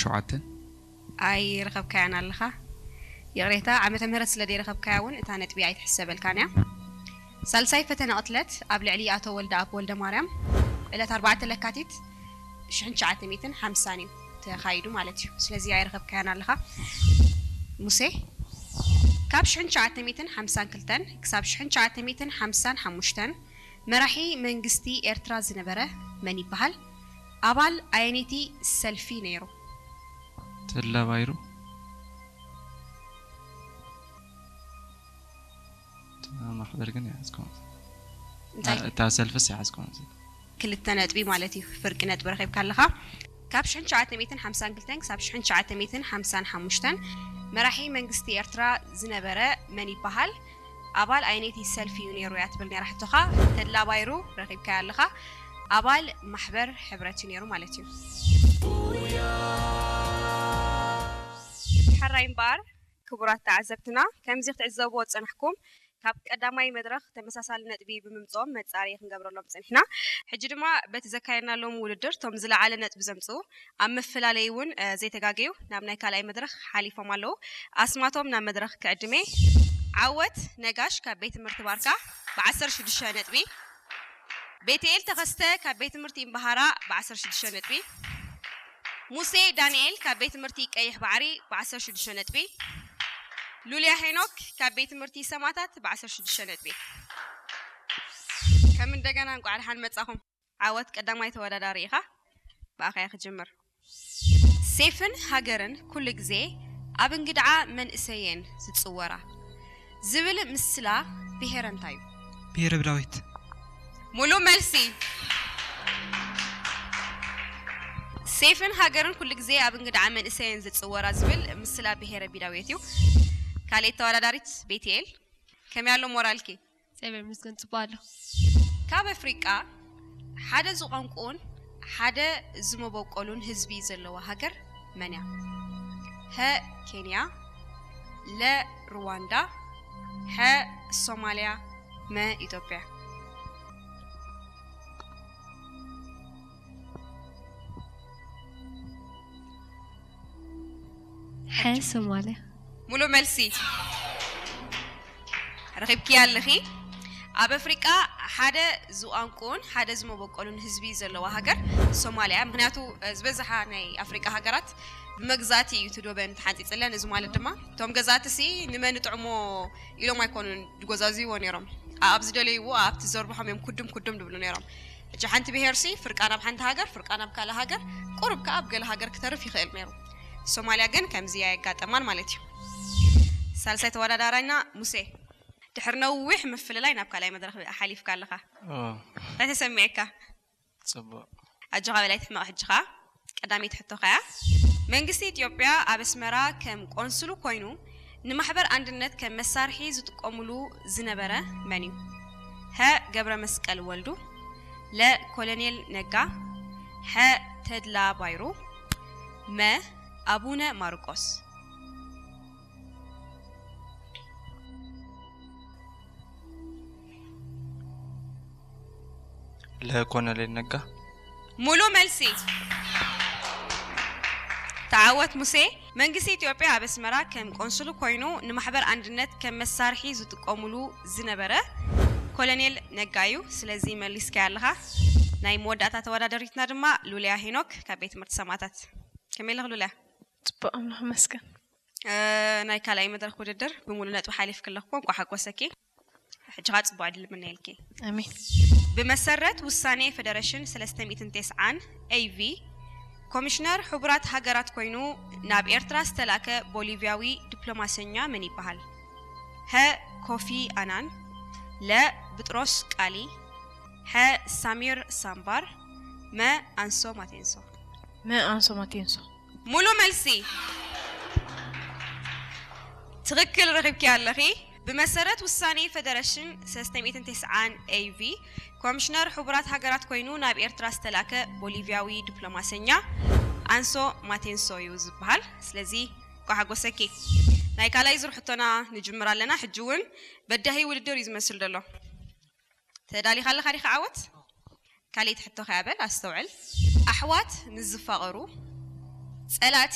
ሸውዓተ። ኣይረኸብካያን ኣለኻ። ይቕሬታ፣ ዓመተ ምህረት ስለ ዘይረኸብካያ እውን እታ ነጥቢ ኣይትሕሰበልካን እያ። ሳልሳይ ፈተነ ቅትለት ኣብ ልዕሊ ኣቶ ወልደኣብ ወልደማርያም ዕለት ኣርባዕተ ለካቲት ሽሕን ትሽዓተ ሚእትን ሓምሳን እዩ ተኻይዱ ማለት እዩ። ስለዚ ኣይረኸብካያን ኣለኻ። ሙሴ፣ ካብ ሽሕን ትሽዓተ ሚእትን ሓምሳን ክልተን ክሳብ ሽሕን ትሽዓተ ሚእትን ሓምሳን ሓሙሽተን መራሒ መንግስቲ ኤርትራ ዝነበረ መን ይበሃል? ኣባል ኣየነይቲ ሰልፊ ነይሩ? ተድላ ባይሩ። እታ ማሕበር ግን ይሓዝኩም። እንታይ? እታ ሰልፍስ ይሓዝኩም። ክልተ ነጥቢ ማለት እዩ። ፍርቂ ነጥቢ ረኺብካ ኣለኻ። ካብ ሽሕን ትሽዓተ ሚእትን ሓምሳን ክልተን ክሳብ ሽሕን ትሽዓተ ሚእትን ሓምሳን ሓሙሽተን መራሒ መንግስቲ ኤርትራ ዝነበረ መን ይበሃል? ኣባል ኣየነይቲ ሰልፊ እዩ ነይሩ እያ ትብል ነይራ ሕቶኻ። ተድላ ባይሩ ረኺብካያ ኣለኻ። ኣባል ማሕበር ሕብረት እዩ ነይሩ ማለት እዩ። ሕራይ እምበኣር ክቡራት ተዓዘብትና፣ ከምዚ ክትዕዘብዎ ዝጸናሕኩም፣ ካብ ቀዳማይ መድረኽ ተመሳሳሊ ነጥቢ ብምምጽኦም መጻረዪ ክንገብረሎም ጸኒሕና። ሕጂ ድማ በቲ ዘካየድናሎም ውድድር እቶም ዝለዓለ ነጥቢ ዘምጽኡ ኣብ መፈላለዪ እውን፣ እ፣ ዘይተጋገዩ ናብ ናይ ካልኣይ መድረኽ ሓሊፎም ኣለዉ። ኣስማቶም ናብ መድረኽ ክዕድሜ። ዓወት ነጋሽ ካብ ቤት ትምህርቲ ባርካ ብዓሰርተ ሽዱሽተ ነጥቢ፣ ቤትኤል ተኸስተ ካብ ቤት ትምህርቲ እምበሃራ ብዓሰርተ ሽዱሽተ ነጥቢ፣ ሙሴ ዳንኤል ካብ ቤት ትምህርቲ ቀይሕ ባሕሪ ብዓሰርተ ሽዱሽተ ነጥቢ፣ ሉልያ ሄኖክ ካብ ቤት ትምህርቲ ሰማታት ብዓሰርተ ሽዱሽተ ነጥቢ። ከም እንደገና እንቋዕ ደሓን መጻኹም። ዓወት ቀዳማይ ተወዳዳሪ ኢኻ። ብኣኻ እየ ክጅምር። ሴፍን ሃገርን ኩሉ ግዜ ኣብ እንግድዓ መንእሰየን ዝጽወራ ዝብል ምስላ ብሄረ እንታይ እዩ? ብሄረ ብዳዊት። ሙሉ መልሲ። ሴፍን ሃገርን ኩሉ ግዜ ኣብ እንግድዓ መንእሰየን ዝጽወራ ዝብል ምስላ ብሄረ ቢዳውየት እዩ። ካልኣይቲ ተወዳዳሪት ቤትኤል፣ ከመይ ኣሎ ሞራልኪ? እግዚኣብሔር ይመስገን፣ ጽቡቕ ኣሎ። ካብ ኣፍሪቃ ሓደ ዝቋንቁኡን ሓደ ዝመበቆሉን ህዝቢ ዘለዋ ሃገር መን እያ? ሀ ኬንያ፣ ለ ሩዋንዳ፣ ሐ ሶማሊያ፣ መ ኢትዮጵያ። ሐ ሶማሊያ። ሙሉ መልሲ ረኺብኪ ኣለኺ። ኣብ ኣፍሪቃ ሓደ ዝቋንቁን ሓደ ዝመበቆሉን ህዝቢ ዘለዋ ሃገር ሶማሊያ። ምክንያቱ፣ እ፣ ዝበዝሓ ናይ ኣፍሪቃ ሃገራት ብመግዛእቲ እዩ እቲ ዶበን ተሓንጺጽለን። እዚ ማለት ድማ እቶም ገዛእቲ ሲ ንመን ንጥዕሞ ኢሎም ኣይኮኑን ዝጎዛዝይዎ ነይሮም። ኣብ ዝደለይዎ ኣብቲ ዘርብሖም እዮም ኩድም ኩድም ዝብሉ ነይሮም። ሕጂ ሓንቲ ብሄር ሲ ፍርቃ ናብ ሓንቲ ሃገር፣ ፍርቃ ናብ ካልእ ሃገር፣ ቁሩብ ከኣ ኣብ ገለ ሃገር ክተርፍ ይኽእል ነይሩ። ሶማሊያ ግን ከምዚ ኣየጋጠማን ማለት እዩ። ሳልሳይ ተወዳዳራይና ሙሴ፣ ድሕሪ ነዊሕ ምፍልላይ ናብ ካልኣይ መድረኽ ሓሊፍካ ኣለኻ። ኦ፣ እንታይ ተሰሚዕካ? ጽቡቕ። ኣጆኻ በላይ ትሕመቕ። ሕጂ ኸኣ ቀዳመይቲ ሕቶኻ እያ። መንግስቲ ኢትዮጵያ ኣብ ኣስመራ ከም ቆንስሉ ኮይኑ ንማሕበር ኣንድነት ከም መሳርሒ ዝጥቀሙሉ ዝነበረ መን እዩ? ሀ ገብረ መስቀል ወልዱ፣ ለ ኮሎኔል ነጋ፣ ሐ ተድላ ባይሩ፣ መ ኣቡነ ማርቆስ። ለኮሎኔል ነጋ። ሙሉ መልሲ። ተዓወት ሙሴ። መንግስቲ ኢትዮጵያ ኣብ ኣስመራ ከም ቆንስሉ ኮይኑ ንማሕበር ኣንድነት ከም መሳርሒ ዝጥቀሙሉ ዝነበረ ኮሎኔል ነጋ እዩ። ስለዚ መሊስካያ ኣለኻ። ናይ መወዳእታ ተወዳደሪትና ድማ ሉልያ ሄኖክ ካብ ቤት ትምህርቲ ሰማእታት። ከመይ ኣለኺ ሉልያ? ጽቡቕ፣ ኣምላኽ ይመስገን። እ፣ ናይ ካልኣይ መድረኽ ውድድር ብሙሉ ነጥቢ ሓሊፍኪ ኣለኹ። እንኳዕ ሓጎሰኪ። ሕጂ ኸኣ ጽቡቕ ዕድል እምነየልኪ። ኣሜን። ብመሰረት ውሳኔ ፌደሬሽን ሰለስተ ሚእትን ተስዓን ኤ ቪ ኮሚሽነር ሕቡራት ሃገራት ኮይኑ ናብ ኤርትራ ዝተላከ ቦሊቪያዊ ዲፕሎማሰኛ መን ይበሃል? ሀ ኮፊ ኣናን፣ ለ ብጥሮስ ቃሊ፣ ሐ ሳሚር ሳምባር፣ መ ኣንሶ ማቴንሶ። መ ኣንሶ ማቴንሶ። ሙሉ መልሲ። ትኽክል ረኺብኪ ኣለኺ። ብመሰረት ውሳኔ ፌደሬሽን ሰለስተ ሚእትን ተስዓን ኤ ቪ ኮሚሽነር ሕቡራት ሃገራት ኮይኑ ናብ ኤርትራ ዝተላከ ቦሊቪያዊ ዲፕሎማሰኛ ኣንሶ ማቴንሶ እዩ ዝበሃል። ስለዚ እንኳዕ ሓጎሰኪ። ናይ ካልኣይ ዙር ሕቶና ንጅምር ኣለና። ሕጂ እውን በዳሂ ውድድር እዩ ዝመስል ዘሎ። ተዳሊኻ ኣለኻ ዲኻ ዓወት? ካልኣይቲ ሕቶ ከያ በል ኣስተውዕል። ኣሕዋት ምስ ዝፋቐሩ ጸላእቲ